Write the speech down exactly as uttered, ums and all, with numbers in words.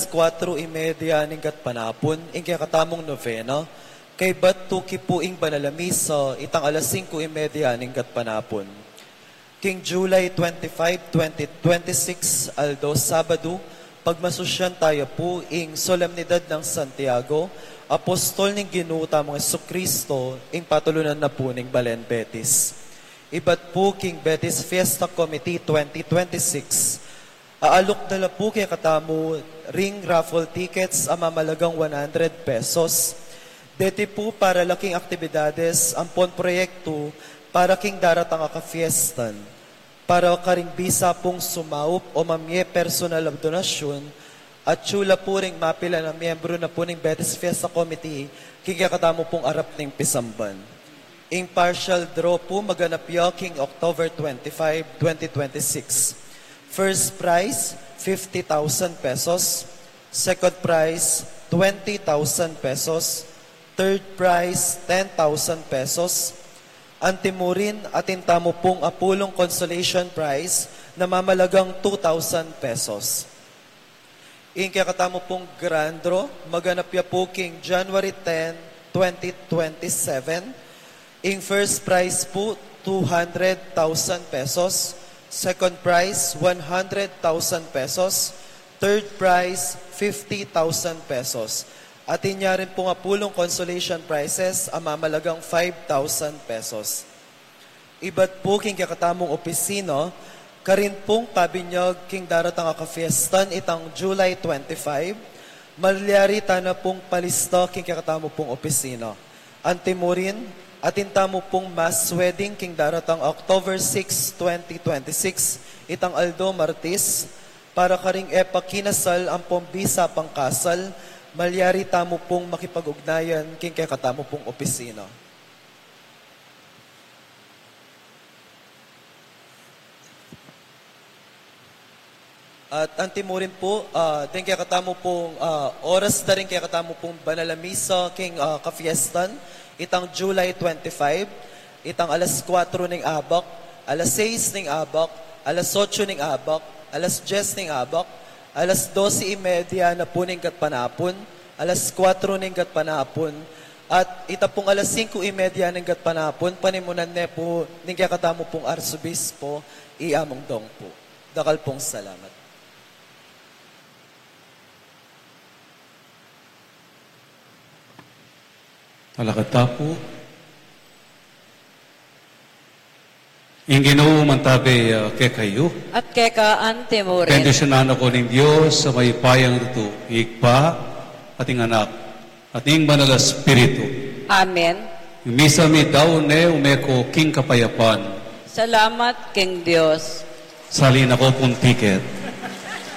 kuatro y media ning gatpanapun, ing kekatamung novena, kaybat tuki pu ing banal a misa, itang alas singko y media ning gatpanapun. King July twenty-five, twenty twenty-six, aldo Sabadu, pagmasusyan taya pu ing Solemnidad nang Santiago, Apostol ning Ginu tamung Jesucristo, ing patulunan na pu ning Balen Betis. Ibat pu king Betis Fiesta Committee twenty twenty-six, aalok da la pu kekatamu ring raffle tickets a mamalagang one hundred pesos. Deti pu para la king aktibidades ampon proyektu para king daratang a kafiestan. Para karing bisa pung sumaup o mamie personal a donasyun, atyu la pu ring mapilan a miyembru na pu ning Betis Fiesta Committee king kekatamu pung arap ning pisamban. Ing partial draw pu maganap ya king October twenty-five, twenty twenty-six. First prize, fifty thousand pesos. Second prize, twenty thousand pesos. Third prize, ten thousand pesos. Antimurin, atin tamu pung apulung consolation prize na mamalagang two thousand pesos. Ing kekatamu pung grand draw, maganap ya pu king January ten, twenty twenty-seven. Ing first prize pu, two hundred thousand pesos. Second prize, one hundred thousand pesos. Third prize, fifty thousand pesos. Atin ya rin pung apulung consolation prizes a mamalagang five thousand pesos. Ibat pu king kekatamung opisina, karin pung pabinyag king daratang a kafiestan itang July twenty-five, malyari tana pung palista king kekatamu pung opisina. Antimurin, atin tamu pung mass wedding king daratang October six, twenty twenty-six, itang aldo Martis, para karing e pa kinasal ampon bisa pang kasal, malyari tamu pung makipag-ugnayan king kekatamu pung opisina. At antimurin pu, ah, deng kekatamu pung, ah, oras da ring kekatamu pung banal a misa king, ah, kafiestan, itang July twenty-five, itang alas kuatro ning abak, alas sais ning abak, alas otso ning abak, alas dyes ning abak, alas dose y media na pu ning gatpanapun, alas kuatro ning gatpanapun, at ita pung alas singko y media ning gatpanapun, panimunan ne pu ning kekatamu pung Arsobispo, i Among Dong pu. Dakal pung salamat. Talakad ta pu. Ing Ginu mantabi, ah, kekayu. At keka antimurin. Bendisyunan na kayu ning Dios a mayupayang tutu, Ibpa, at ing Anak, at ing Banal a Espiritu. Amen. Ing misa mi daun ne, ume ko king kapayapan. Salamat king Dios. Sali na ko pung tiket.